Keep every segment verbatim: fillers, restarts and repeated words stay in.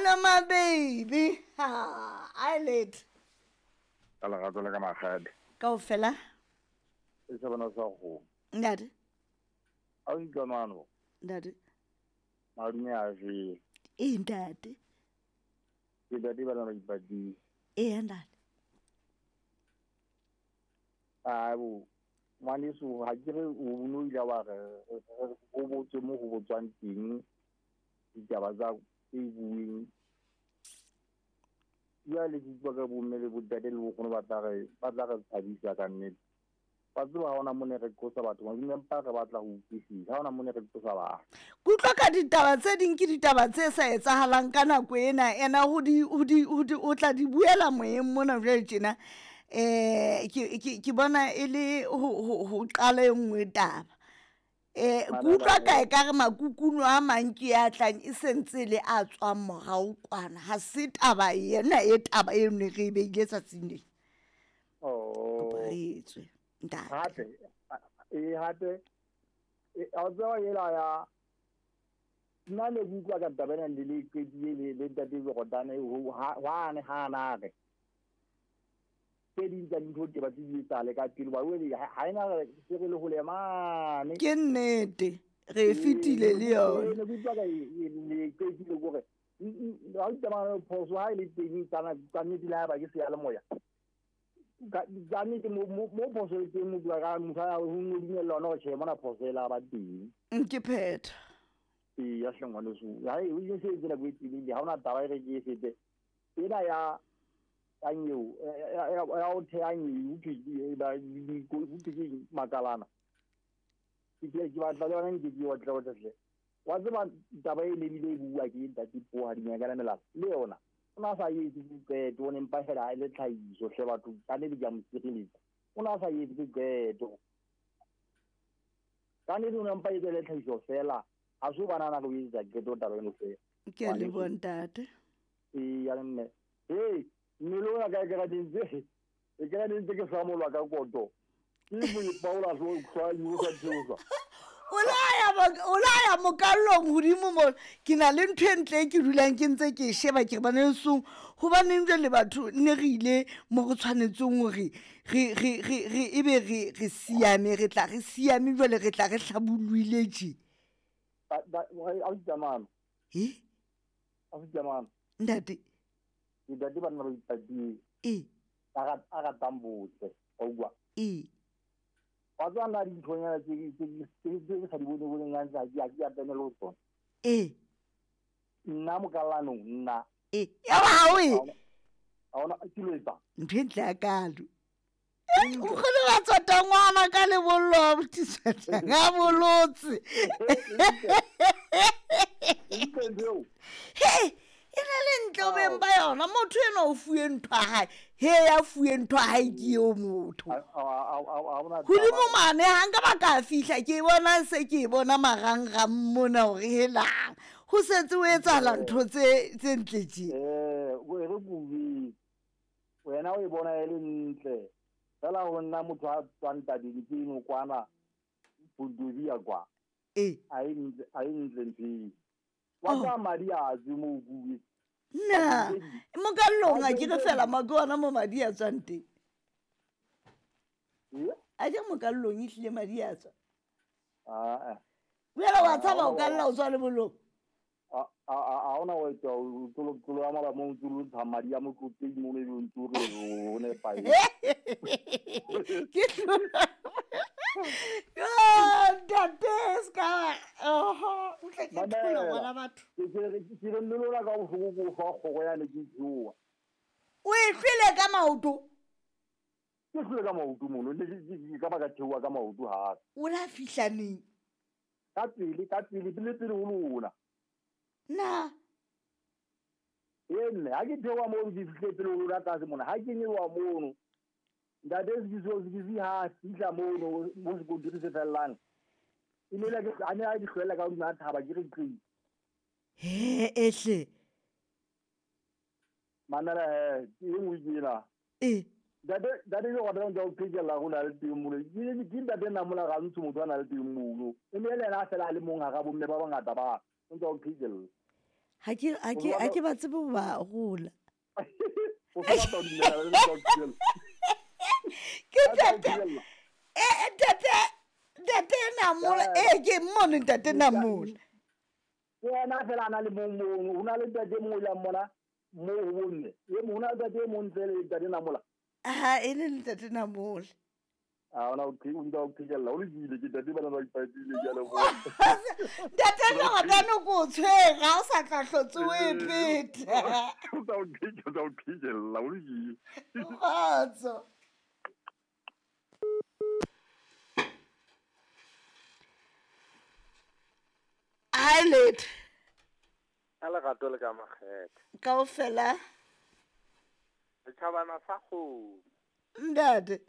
Hello my baby. Ha, I late. Ka lerato le ka makgadi. Kaofela. E se bona sa go. Ntate. A o ikamano. Ntate. Madume a je. E ntate. Ke dadi ba na ipadi. E ntate. A bo ngwaneso ha ke re o no ile wa re o botse mo go botswang teng ditaba tsa e bueng. Jwale ke utlwa ka bomme le bontate le bokgono ba tla re ba tla re thabisa ka nnete. Ba tseba ha hona mo ne re qosa batho, empa re batla ho utlwisisa. Ha hona mo ne re qosa batho. Ke utlwa ka ditaba tse ding ke ditaba tse sa etsahalang ka nako ena. Ena ho di ho di ho di o tla di buela moyeng mona jwale tjena. Eh ke ke ke bona e le ho ho ho qala e nngwe taba. Eh ke utlwa ka e ka re makukuno a mang ke a tlang e sentse le a tswang morao kwana. Ha se taba ena e taba e ne re e beile tsatsing lena. Oh. Kopa re etswe. Ntate. Hape e hape e a tswa ela ya nna le utlwa ka taba ena le le qetile le le ntate Jordane ho ha ne ha na re tse ding tsa dintho ke ba tse di etsahale ka pele ba wele ha ena se re le hole mane. Ke nnete re fitile le yona. Ne ke utlwa ka le qetile gore ha o tsamaya phoso ha e le teng tsana ka nnete le ha ba ke se ya le moya. Ka nnete mo mo phoso e teng mo bua ka motho a ho dumella ona hore tjhe mona phoso e la ba teng. Ke phetha. Ee ya hle ngwaneso. Hai o ile se tsela go etile ha ona taba e re ke e fete. Ena ya anyeo ya o the anyeo ke ba di ke makalana. Ke ke ke batla le yona ke ke wa tla wa tle. Wa tseba taba e le bile e bua ke ntate Puo ha dinyaka la melala le yona. O na sa etse diqeto o ne mpa fela e le tlhahiso hle batho ka ne di ja mosireletsa. O na sa etse diqeto. Ka ne di o mpa etse le tlhahiso fela. Ha so bana na go etsa qeto taba eno fela. Ke a leboha ntate. Ee ya mme. Hey, mmele ona ka ke ra dintse. E ke ra dintse ke samolwa ka koto. Ke mo ipaola so hlwa yo sa tsosa. O la ya o la ya mokallong hodimo mo ke na le ntho e ntle e ke dulang ke ntse ke sheba ke re bana lesong hobaneng jwale batho ne re ile mo re tshwanetseng hore re re re re ebe re re siame re tla re siame jwale re tla re hlabollohile tje. Ba ba a utsamana. Eh? A utsamana. Ntate. Ntate ba nna ba ipatile. Eh. A ga a ga tambotse. O bua. Eh. Wa tswa na dinthonyana tse tse tse sa di bone boneng ga ntse ha ke a tsenela ho tsona. Eh. Nna mokallanong nna. Eh. Ya ba ha o e. Ha ona ke lo etsa. Ntho e ntle ya kalo. O kgone wa tsota ngwana ka lebollo wa botiswa ga bolotse. He, e na le ntle o beng ba yona motho ena o fuwe ntho ya hae. He ya fuwe ntho ya hae ke eo motho. Hodimo mane ha nka ba ka fihla ke bona se ke bona marangrang mona hore helang. Ho setse ho etsahala ntho tse tse ntle tje. Eh, o re kubi. Wena o e bona e le ntle. Fela ho nna motho a tswang tabeng ke eno kwana Pondovia kwa. Eh. A e ntle a e ntle ntho. Wa tsa madi a tswe mo kubi. Na, mokallong a ke re fela ma ke ona mo madi a tswang teng. A je mokallong e hlile madi a tswa. Ah. Wena wa tshaba o kalla o tswa lebollong. A a a ona o etsa o tlo tlo ya mala mo ntse o ntsha madi a motloteng mo ne o ntse o re o ne pae. Ke Yo, ntate ska. Oho, o tla ke thola ngwana batho. Ke re ke re nne lona ka bohloko ko fa kgogo ya ne ke tsoa. O e hlwele ka maoto. Ke hlwele ka maoto mono le ke ka ba ka theoha ka maoto hape. O la fihla neng? Ka pele ka pele pele pele ho lona. Na. E mme ha ke theoha mono ke fihle pele ho lona tlase mona ha ke nyewa mono. Ntate Sekiso Sekisi ha fihla mono mo sekontiri se fellang. E ne le ke a ne a di hlwela ka hodima thaba ke re qi. He ehle. Manana he e nngwe ke ena. Eh. Ntate ntate ke go ntse o phekela go na le teng mono. Ke ke ntate nna mola ga ntsho motho a na le teng mono. E ne le ena a fela a le mong ha ga bomme ba bangata ba. O ntse o phekela. Ha ke ha ke ha ke ba tsebe ho ba arola. O so batla ho dumela le tsa ho thibella. Ke A tla o ntate thibella. eh ntate ntate Namola eh ke mmone ntate Namola. Ke yena fela a na le mong mono. Ho na le ntate e mong o yang mona moo ho bomme. E mong ho na le ntate e mong ntle le ntate Namola. Ha e le ntate Namola. Ha ona o o ntsa o qhekella. O lokile ke ntate bana ba ipatile ke a leboha. Ntate Leratano ko o tshwere ha o sa tla hlotse o e phetha. O tsa o qhekella, o tsa o qhekella, o lokile. Kgotso. Hi letho. Ka lerato le ka makgethe. Kaofela. Setjhabana sa kgomo. Ntate.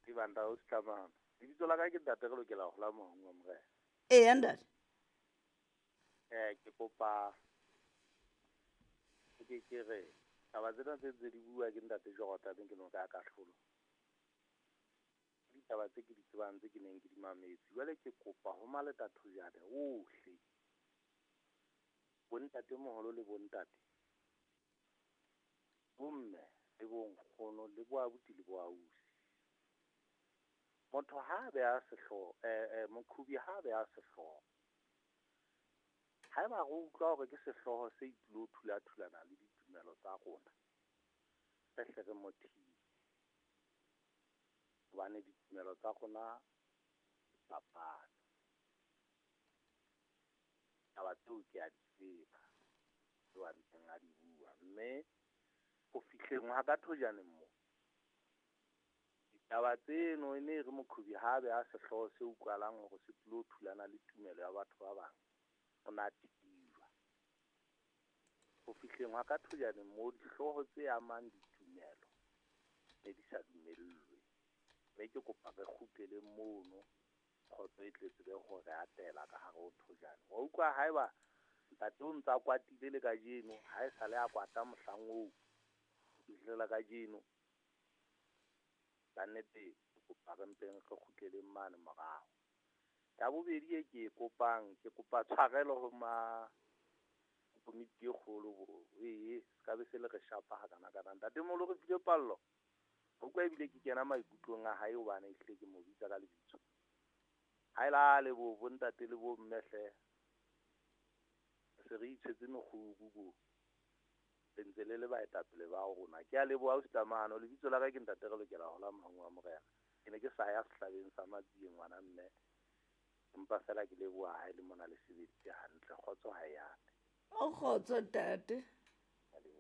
Dibanda o setlamana. Lebitso la ka ke ntate re lokela ho hola mohong wa morena. Eya ntate. Eh ke kopa ke ke re taba tsena tse ntse di bua ke ntate Jordan ke no ka kahlolo. Ditaba tse ke di tsebang tse ke neng ke di mametse. Jwale ke kopa ho Maleta Thojane ohle. Bontate moholo le bontate. Bomme le bonkgono le boabuti le boausi. Motho ha a beha sehlooho eh eh moqhubi ha a beha sehlooho. Haeba re utlwa hore ke sehlooho se tlilo thula-thulana le ditumelo tsa rona, re hle re mo thibe. Hobane ditumelo tsa rona di fapane. Taba tseo ke a di tseba, tseo a ntseng a di bua. Mme ho fihleng ha ka Thojaneng moo, ditaba tseno e ne e re moqhubi ha a beha sehlooho se utlwahalang hore se tlilo thulana le tumelo ya batho ba bang, o na thibwa. Ho fihleng ha ka Thojaneng moo dihlooho tse amang ditumelo ne di sa dumellwe. Mme ke kopa re kgutlele mono kgotso e tle tsebe hore atela ka hare ho Thojane. Wa utlwa haeba ntate o ntsa kwatile le kajeno, ha e sale a kwata mohlang oo ho fihlela kajeno. Ka nnete ke kopa re mpeng re kgutleleng mane morao. Ya bobedi e ke e kopang, ke kopa tshwarelo ho ma komiti e kgolo bo ee se ka be se le re shapa hakana-kana. Ntatemoholo re file pallo. Ho utlwa ebile ke kena maikutlong a hae hobane ehlile ke mo bitsa ka lebitso. Ha e lale bo bontate le bo mme hle. Se re itshwetse mekgubu bo. Le ntse le le baetapele ba rona. Ke a leboha ausi Tlamano. Lebitso la ka ke ntate re lokela ho hola mohong wa morena. Ke ne ke sa ya sehlabeng sa Matsieng ngwana mme. Empa fela ke leboha ha e le mona le sebeditse hantle. Kgotso ha e ate. O kgotso ntate.